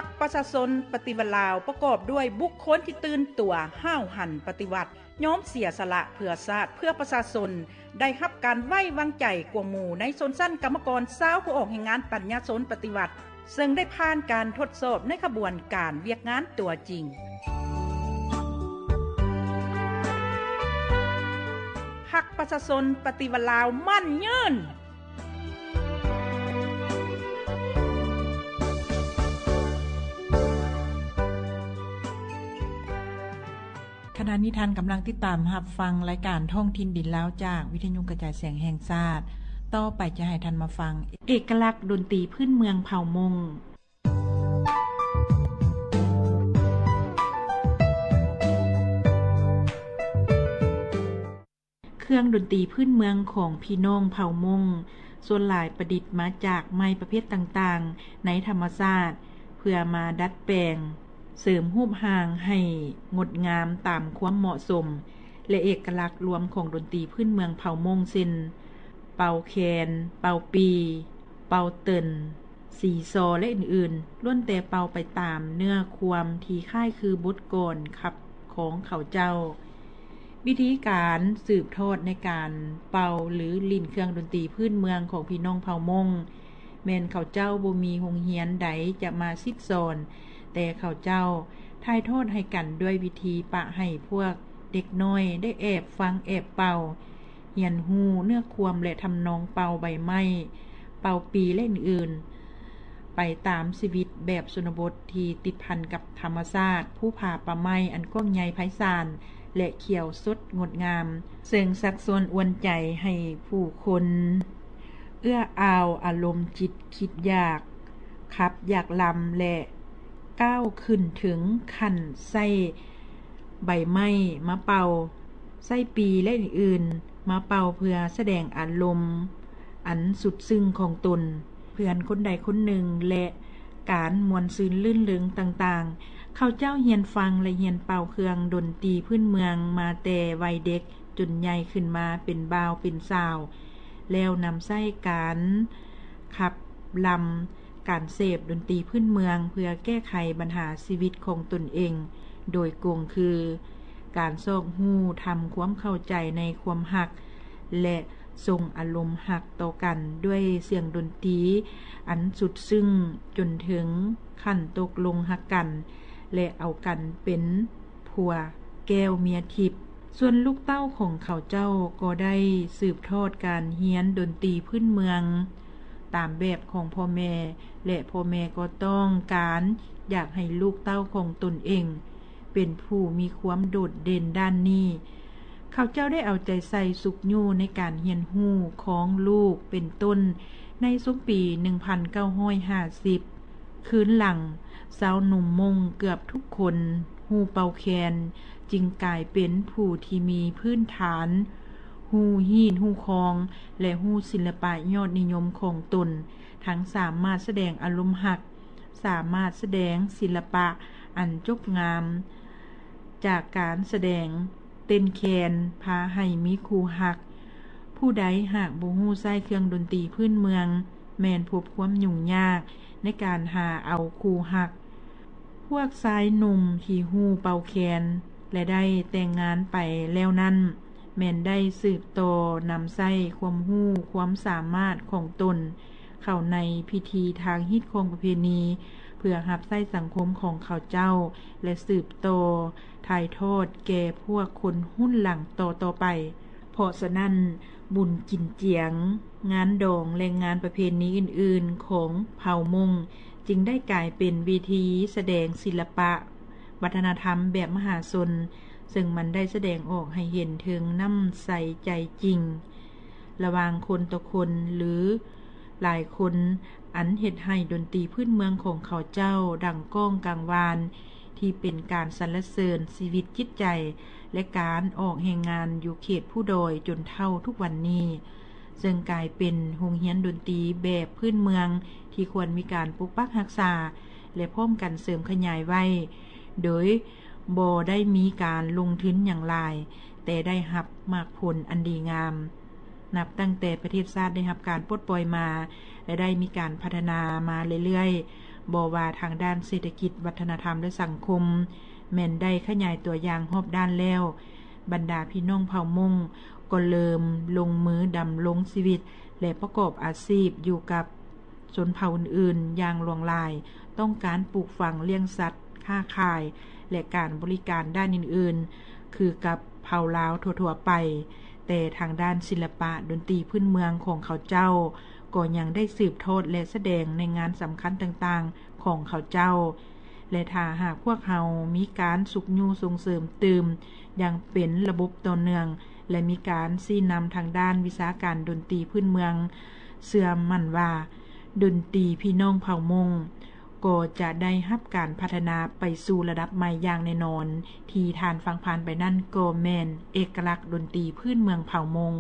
ພັກປະຊາຊົນປະຕິວັດລາວ ປະກອບດ້ວຍບຸກຄົນທີ່ຕື່ນຕົວ, ຫ້າວຫັນປະຕິວັດ, ຍອມເສຍສະຫຼະເພື່ອຊາດ, ເພື່ອປະຊາຊົນ, ໄດ້ຮັບການໄວ້ວາງໃຈກວ່າໝູ່ໃນຊົນຊັ້ນກຳມະກອນຊາວຜູ້ອອກແຮງງານປັນຍາຊົນປະຕິວັດ, ເຊິ່ງໄດ້ຜ່ານການທົດສອບໃນຂະບວນການວຽກງານຕົວຈິງ. ພັກປະຊາຊົນປະຕິວັດລາວໝັ້ນຍືນ. ຂະນະນີ້ທ່ານກຳລັງຕິດຕາມຮັບຟັງລາຍການທ້ອງຖິ່ນດິນລາວ ຈາກວິທະຍຸກະຈາຍສຽງແຫ່ງຊາດ. ຕໍ່ໄປຈະໃຫ້ທ່ານມາຟັງເອກະລັກດົນຕີພື້ນເມືອງເຜົ່າມົ້ງ. ເຄື່ອງດົນຕີພື້ນເມືອງຂອງພີ່ນ້ອງເຜົ່າມົ້ງ ສ່ວນຫຼາຍປະດິດມາຈາກໄມ້ປະເພດຕ່າງໆໃນທຳມະຊາດ ເພື່ອມາດັດແປງ ເສີມຮູບຮ່າງໃຫ້ງົດງາມຕາມຄວາມເໝາະສົມ ແລະ ເອກະລັກລວມຂອງດົນຕີພື້ນເມືອງເຜົ່າມົ້ງ ເຊັ່ນ ເປົ່າແຄນ, ເປົ່າປີ, ເປົ່າເຕີນ, ສີຊໍ ແລະ ອື່ນໆ ລ້ວນແຕ່ເປົ່າໄປຕາມເນື້ອຄວາມທີ່ຄ້າຍຄືບົດກອນຂັບຂອງເຂົາເຈົ້າ. ວິທີການສືບທອດໃນການເປົ່າ ຫຼື ຫຼິ້ນເຄື່ອງດົນຕີພື້ນເມືອງຂອງພີ່ນ້ອງເຜົ່າມົ້ງ ແມ່ນເຂົາເຈົ້າບໍ່ມີໂຮງຮຽນໃດຈະມາສິດສອນ, ແຕ່ເຂົາເຈົ້າຖ່າຍທອດໃຫ້ກັນດ້ວຍວິທີປະໃຫ້ພວກເດັກນ້ອຍໄດ້ແອບຟັງແອບເປົ່າ, ຮຽນຮູ້ເນື້ອຄວາມ ແລະ ທຳນອງເປົ່າໃບໄມ້, ເປົ່າປີ ແລະ ອື່ນໆ ໄປຕາມຊີວິດແບບຊົນນະບົດທີ່ຕິດພັນກັບທຳມະຊາດ, ພູຜາປ່າໄມ້ອັນກວ້າງໃຫຍ່ໄພສານ ແລະ ຂຽວສົດງົດງາມ, ເຊິ່ງຊັກຊວນອວນໃຈໃຫ້ຜູ້ຄົນເອື້ອອາວອາລົມຈິດຄິດຢາກຂັບຢາກລຳ ແລະ ກ້າວຂຶ້ນເຖິງຂັ້ນໃຊ້ໃບໄມ້ມາເປົ່າ, ໃຊ້ປີ ແລະ ອື່ນໆ ມາເປົ່າເພື່ອສະແດງອາລົມອັນສຸດຊຶ້ງຂອງຕົນ, ເພື່ອນຄົນໃດຄົນໜຶ່ງ ແລະ ການມ່ວນຊື່ນລື່ນເລິງຕ່າງໆ. ເຂົາເຈົ້າຮຽນຟັງ ແລະ ຮຽນເປົ່າເຄື່ອງດົນຕີພື້ນເມືອງມາແຕ່ໄວເດັກ ຈົນໃຫຍ່ຂຶ້ນມາເປັນບ່າວເປັນສາວ ແລ້ວນຳໃຊ້ການຂັບລຳ, ການເສບດົນຕີພື້ນເມືອງ ເພື່ອແກ້ໄຂບັນຫາຊີວິດຂອງຕົນເອງໂດຍກົງ ຄື ການຊອກຮູ້ທຳຄວາມເຂົ້າໃຈໃນຄວາມຮັກ ແລະ ສົ່ງອາລົມຮັກຕໍ່ກັນດ້ວຍສຽງດົນຕີອັນສຸດຊຶ້ງ ຈົນເຖິງຂັ້ນຕົກລົງຮັກກັນ ແລະ ເອົາກັນເປັນຜົວແກ້ວເມຍທິບ. ສ່ວນລູກເຕົ້າຂອງເຂົາເຈົ້າກໍໄດ້ສືບທອດການຮຽນດົນຕີພື້ນເມືອງຕາມແບບຂອງພໍ່ແມ່ ແລະ ພໍ່ແມ່ກໍຕ້ອງການຢາກໃຫ້ລູກເຕົ້າຂອງຕົນເອງ ເປັນຜູ້ມີຄວາມໂດດເດັ່ນດ້ານນີ້. ເຂົາເຈົ້າໄດ້ເອົາໃຈໃສ່ຊຸກຍູ້ໃນການຮຽນຮູ້ຂອງລູກເປັນຕົ້ນໃນຊຸມປີໜຶ່ງພັນເກົ້າຮ້ອຍຫ້າສິບ. ຄືນຫຼັງ, ຊາວໜຸ່ມມົ້ງເກືອບທຸກຄົນຮູ້ເປົ່າແຄນ, ຈຶ່ງກາຍເປັນຜູ້ທີ່ມີພື້ນຖານຮູ້ຮີດຮູ້ຄອງ ແລະ ຮູ້ສິລະປະຍອດນິຍົມຂອງຕົນ, ທັງສາມາດສະແດງອາລົມຮັກ, ສາມາດສະແດງສິລະປະອັນຈົບງາມຈາກການສະແດງເຕັ້ນແຄນ ພາໃຫ້ມີຄູ່ຮັກ. ຜູ້ໃດຫາກບໍ່ຮູ້ໃຊ້ເຄື່ອງດົນຕີພື້ນເມືອງ ແມ່ນພົບຄວາມຫຍຸ້ງຍາກໃນການຫາເອົາຄູ່ຮັກ. ພວກຊາຍໜຸ່ມທີ່ຮູ້ເປົ່າແຄນ ແລະ ໄດ້ແຕ່ງງານໄປແລ້ວນັ້ນ ແມ່ນໄດ້ສືບຕໍ່ນຳໃຊ້ຄວາມຮູ້ຄວາມສາມາດຂອງຕົນ ເຂົ້າໃນພິທີທາງຮີດຄອງປະເພນີ ເພື່ອຮັບໃຊ້ສັງຄົມຂອງເຂົາເຈົ້າ ແລະ ສືບຕໍ່ຖ່າຍທອດແກ່ພວກຄົນຮຸ່ນຫຼັງຕໍ່ໆໄປ. ເພາະສະນັ້ນ, ບຸນກິນຈຽງ, ງານດອງ ແລະ ງານປະເພນີອື່ນໆຂອງເຜົ່າມົ້ງ ຈຶ່ງໄດ້ກາຍເປັນເວທີສະແດງສິລະປະວັດທະນະທຳແບບມະຫາຊົນ, ເຊິ່ງມັນໄດ້ສະແດງອອກໃຫ້ເຫັນເຖິງນ້ຳໃສໃຈຈິງ ລະຫວ່າງຄົນຕໍ່ຄົນ ຫຼື ຫຼາຍຄົນ ອັນເຮັດໃຫ້ດົນຕີພື້ນເມືອງຂອງເຂົາເຈົ້າດັງກ້ອງກາງວານ ທີ່ເປັນການສັນລະເສີນຊີວິດຈິດໃຈ ແລະ ການອອກແຮງງານຢູ່ເຂດພູດອຍຈົນເທົ່າທຸກວັນນີ້, ເຊິ່ງກາຍເປັນໂຮງຮຽນດົນຕີແບບພື້ນເມືອງທີ່ຄວນມີການປົກປັກຮັກສາ ແລະ ພ້ອມກັນເສີມຂະຫຍາຍໄວ້ ໂດຍບໍ່ໄດ້ມີການລົງທຶນຫຍັງຫຼາຍ, ແຕ່ໄດ້ຮັບໝາກຜົນອັນດີງາມ. ນັບຕັ້ງແຕ່ປະເທດຊາດໄດ້ຮັບການປົດປ່ອຍມາ ແລະ ໄດ້ມີການພັດທະນາມາເລື້ອຍ ບໍ່ວ່າທາງດ້ານເສດຖະກິດ, ວັດທະນະທຳ ແລະ ສັງຄົມ ແມ່ນໄດ້ຂະຫຍາຍຕົວຢ່າງຮອບດ້ານແລ້ວ, ບັນດາພີ່ນ້ອງເຜົ່າມົ້ງກໍເລີ່ມລົງມືດຳລົງຊີວິດ ແລະ ປະກອບອາຊີບຢູ່ກັບຊົນເຜົ່າອື່ນໆຢ່າງຫຼວງຫຼາຍ, ຕ້ອງການປູກຝັງ, ລ້ຽງສັດ, ຄ້າຂາຍ ແລະ ການບໍລິການດ້ານອື່ນໆ ຄືກັບເຜົ່າລາວທົ່ວໆໄປ. ແຕ່ທາງດ້ານສິລະປະດົນຕີພື້ນເມືອງຂອງເຂົາເຈົ້າ ກໍຍັງໄດ້ສືບທອດ ແລະ ສະແດງໃນງານສຳຄັນຕ່າງໆຂອງເຂົາເຈົ້າ ແລະ ຖ້າຫາກພວກເຮົາມີການຊຸກຍູ້ສົ່ງເສີມຕື່ມຢ່າງເປັນລະບົບຕໍ່ເນື່ອງ ແລະ ມີການຊີ້ນຳທາງດ້ານວິຊາການດົນຕີພື້ນເມືອງ, ເຊື່ອໝັ້ນວ່າດົນຕີພີ່ນ້ອງເຜົ່າມົ້ງກໍຈະໄດ້ຮັບການພັດທະນາໄປສູ່ລະດັບໃໝ່ຢ່າງແນ່ນອນ. ທີ່ທ່ານຟັງຜ່ານໄປນັ້ນກໍແມ່ນເອກະລັກດົນຕີພື້ນເມືອງເຜົ່າມົ້ງ.